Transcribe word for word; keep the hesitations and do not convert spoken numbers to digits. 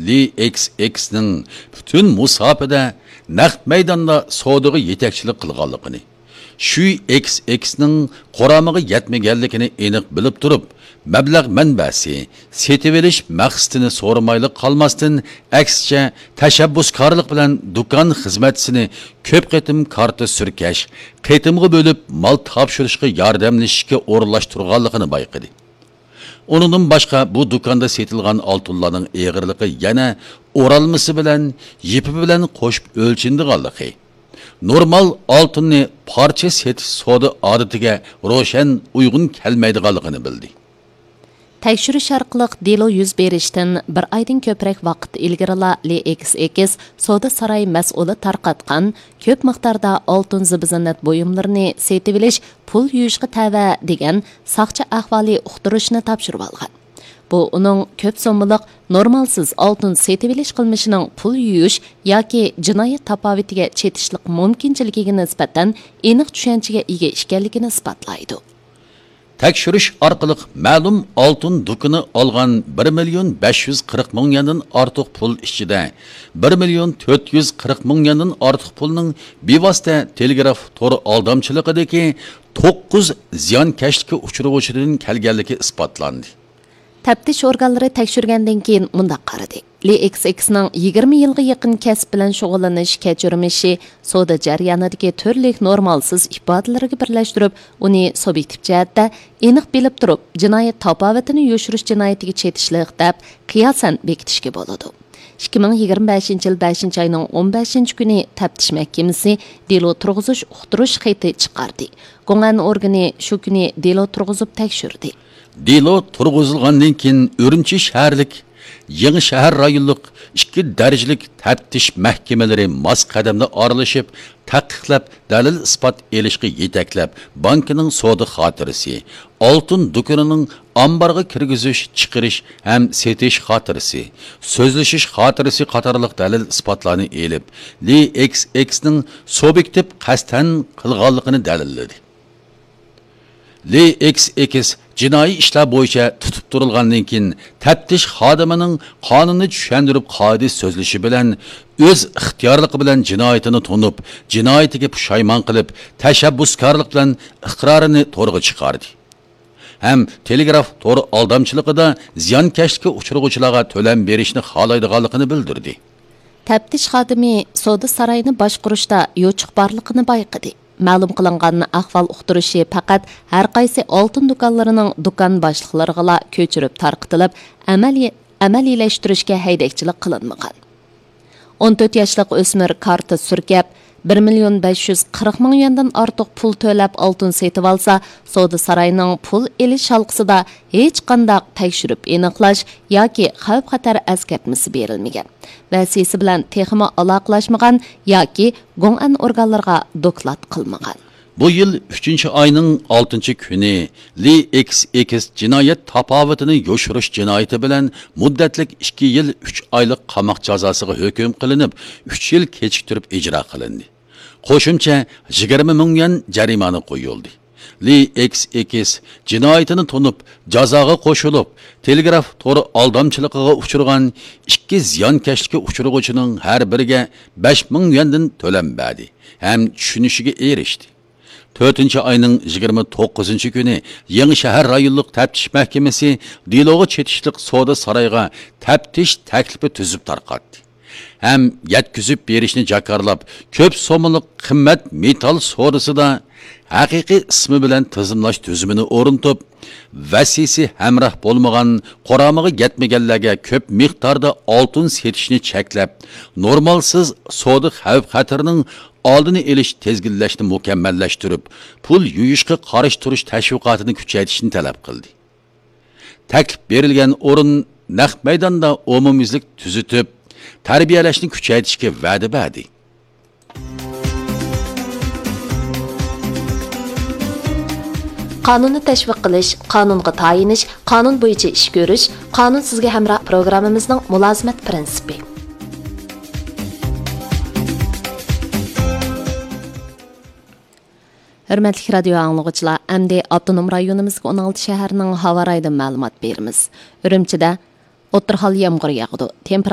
لى ئېكس ئېكسنىڭ پۈتۈن مۇساپىدە نەق مەيداندا سودىغا يېتەكچىلىك قىلغانلىقىنى، شۈي ئېكس ئېكسنىڭ قۇرامىغا يەتمىگەنلىكىنى ئېنىق بىلىپ تۇرۇپ، مەبلەغ مەنبەسى، سېتىۋېلىش مەقسىتىنى سورىمايلا قالماستىن، ئەكسىچە، تەشەببۇسكارلىق بىلەن دۇكان خىزمەتچىسىنى كۆپ قېتىم كارتا سۈركەش، قېتىمغا بۆلۈپ مال تاپشۇرۇشقا ياردەملىشىشكە ئورۇنلاشتۇرغانلىقىنى بايقىدى. ئۇنىڭدىن باشقا، بۇ دۇكاندا سېتىلغان ئالتۇنلارنىڭ ئېغىرلىقى يەنە ئورالمىسى بىلەن، يىپى بىلەن قوشۇپ ئۆلچىنىدىغانلىقى، نورمال ئالتۇننى پارچە سېتىش سودا ئادىتىگە روشەن ئۇيغۇن كەلمەيدىغانلىقىنى بىلدى. تەكشۈرۈش ئارقىلىق دېلو يۈز بېرىشتىن بىر ئايدىن كۆپرەك ۋاقىت ئىلگىرىلا لى ئېكس ئېكس سودا ساراي مەسئۇلى تارقاتقان كۆپ مىقداردا ئالتۇن زىبۇ-زىننەت بۇيۇملىرىنى سېتىۋېلىش پۇل يۇيۇشقا تەۋە دېگەن ساقچى ئەھۋالى ئۇقتۇرۇشنى تاپشۇرۇۋالغان. بۇ ئۇنىڭ كۆپ سوممىلىق نورمالسىز ئالتۇن سېتىۋېلىش قىلمىشىنىڭ پۇل يۇيۇش ياكى جىنايەت تاپاۋىتىگە چېتىشلىق مۇمكىنچىلىكىگە نىسبەتەن ئېنىق چۈشەنچىگە ئىگە ئىكەنلىكىنى ئىسپاتلايدۇ. تەكشۈرۈش ئارقىلىق مەلۇم ئالتۇن دۇكىنى ئالغان بىر مىليون بەش يۈز قىرىق مىڭ يۈەندىن ئارتۇق پۇل ئىچىدە، بىر مىليون تۆت يۈز قىرىق مىڭ يۈەندىن ئارتۇق پۇلنىڭ بىۋاسىتە تېلېگراف تور ئالدامچىلىقىدىكى توققۇز زىيانكەشلىككە ئۇچرىغۇچىدىن كەلگەنلىكى ئىسپاتلاندى. تەپتىش ئورگانلىرى تەكشۈرگەندىن كېيىن مۇنداق قارىدى. لى ئېكس ئېكسنىڭ يىگىرمە يىلغا يېقىن كەسىپ بىلەن شۇغۇللىنىش كەچۈرمىشى سودا جەريانىدىكى تۈرلۈك نورمالسىز ئىپادىلىرىگە بىرلەشتۈرۈپ، ئۇنى سۇبيېكتىپ جەھەتتە ئېنىق بىلىپ تۇرۇپ، جىنايەت تاپاۋىتىنى يوشۇرۇش جىنايىتىگە چېتىشلىق دەپ قىياسەن بېكىتىشكە بولىدۇ. ئىككى مىڭ يىگىرمە بەشىنچى يىل بەشىنچى ئاينىڭ ئون بەشىنچى كۈنى تەپتىش مەھكىمىسى دېلو تۇرغۇزۇش ئۇقتۇرۇش خېتى چىقاردى. گوڭئەن ئورگىنى شۇ كۈنى دېلو تۇرغۇزۇپ تەكشۈردى. دېلو تۇرغۇزۇلغاندىن كېيىن، ئۈرۈمچى شەھەرلىك يېڭى شەھەر رايونلۇق ئىككى دەرىجىلىك تەپتىش مەھكىمىلىرى ماس قەدەمدە ئارىلىشىپ، تەھقىقلەپ، دەلىل-ئىسپات ئېلىشقا يېتەكلەپ، بانكىنىڭ سودا خاتىرىسى، ئالتۇن دۇكىنىنىڭ ئامبارغا كىرگۈزۈش، چىقىرىش ھەم سېتىش خاتىرىسى، سۆزلىشىش خاتىرىسى قاتارلىق دەلىل-ئىسپاتلارنى ئېلىپ، لى ئېكس ئېكسنىڭ سۇبيېكتىپ قەستەن قىلغانلىقىنى دەلىللىدى. لى ئېكس ئېكس جىنايى ئىشلار بويىچە تۇتۇپ تۇرۇلغاندىن كېيىن، تەپتىش خادىمىنىڭ قانۇننى چۈشەندۈرۈپ، قائىدە سۆزلىشى بىلەن ئۆز ئىختىيارلىقى بىلەن جىنايىتىنى تونۇپ، جىنايىتىگە پۇشايمان قىلىپ، تەشەببۇسكارلىق بىلەن ئىقرارىنى تورغا چىقاردى ھەم تېلېگراف تور ئالدامچىلىقىدا زىيانكەشلىككە ئۇچرىغۇچىلارغا تۆلەم بېرىشنى خالايدىغانلىقىنى بىلدۈردى. تەپتىش خادىمى سودا سارايىنى باشقۇرۇشتا يوچۇق بارلىقىنى بايقىدى. مەلۇم قىلىنغان ئەھۋال ئۇقتۇرۇشى پەقەت ھەر قايسى ئالتۇن دۇكانلىرىنىڭ دۇكان باشلىقلىرىغىلا كۆچۈرۈپ تارقىتىلىپ، ئەمەلىي، ئەمەلىيلەشتۈرۈشكە ھەيدەكچىلىك قىلىنمىغان. ئون تۆت ياشلىق ئۆسمۈر كارتا سۈركەپ، بىر مىليون بەش يۈز قىرىق مىڭ يۈەندىن ئارتۇق پۇل تۆلەپ ئالتۇن سېتىۋالسا، سودا سارايىنىڭ پۇل ئېلىش ھالقىسىدا ھېچقانداق تەكشۈرۈپ ئېنىقلاش ياكى خەۋپ-خەتەر ئەسكەرتمىسى بېرىلمىگەن، ۋەسىسى بىلەن تېخىمۇ ئالاقىلاشمىغان ياكى گوڭئەن ئورگانلىرىغا دوكلات قىلمىغان. بۇ يىل ئۈچىنچى ئاينىڭ ئالتىنچى كۈنى لى ئېكس ئېكس جىنايەت تاپاۋىتىنى يوشۇرۇش جىنايىتى بىلەن مۇددەتلىك ئىككى يىل ئۈچ ئايلىق قاماق جازاسىغا ھۆكۈم قىلىنىپ، ئۈچ يىل كېچىكتۈرۈپ ئىجرا قىلىندى. قوشۇمچە يىگىرمە مىڭ يۈەن جەرىمانە قويۇلدى. لى ئېكس ئېكس جىنايىتىنى تونۇپ، جازاغا قوشۇلۇپ، تېلېگراف تور ئالدامچىلىقىغا ئۇچرىغان ئىككى زىيانكەشلىككە ئۇچرىغۇچىنىڭ ھەر بىرىگە بەش مىڭ يۈەندىن تۆلەم بەردى ھەم چۈشىنىشىگە ئېرىشتى. تۆتىنچى ئاينىڭ يىگىرمە توققۇزىنچى كۈنى يېڭى شەھەر رايونلۇق تەپتىش مەھكىمىسى دېلوغا چېتىشلىق سودا سارايىغا تەپتىش تەكلىپى تۈزۈپ تارقاتتى ھەم يەتكۈزۈپ بېرىشنى جاكارلاپ، كۆپ سوممىلىق قىممەت مېتال سودىسىدا ھەقىقىي ئىسمى بىلەن تىزىملاش تۈزۈمىنى ئورنىتىپ، ۋەسىسى ھەمراھ بولمىغان، قۇرامىغا يەتمىگەنلەرگە كۆپ مىقداردا ئالتۇن سېتىشنى چەكلەپ، نورمالسىز سودا خەۋپ-خەتىرىنىڭ ئالدىنى ئېلىش، تىزگىنلەشنى مۇكەممەللەشتۈرۈپ، پۇل يۇيۇشقا قارشى تۇرۇش تەشۋىقاتىنى كۈچەيتىشنى تەلەپ قىلدى. تەكلىپ بېرىلگەن ئورۇن نەق مەيداندا ئومۇميۈزلۈك تۈزىتىپ، تەربىيەلەشنى كۈچەيتىشكە ۋەدە بەردى. قانۇننى تەشۋىق قىلىش، قانۇنغا تايىنىش، قانۇن بويىچە ئىش كۆرۈش، قانۇن سىزگە ھەمراھ پروگراممىمىزنىڭ مۇلازىمەت پىرىنسىپى. ھۆرمەتلىك رادىيو ئاڭلىغۇچىلار، ئەمدى ئاپتونوم رايونىمىزدىكى ئون ئالتە شەھەرنىڭ ھاۋا رايىدىن مەلۇمات بېرىمىز. ئۈرۈمچىدە ئوتتۇرا ھال يامغۇر ياغىدۇ. تېمپېراتۇرا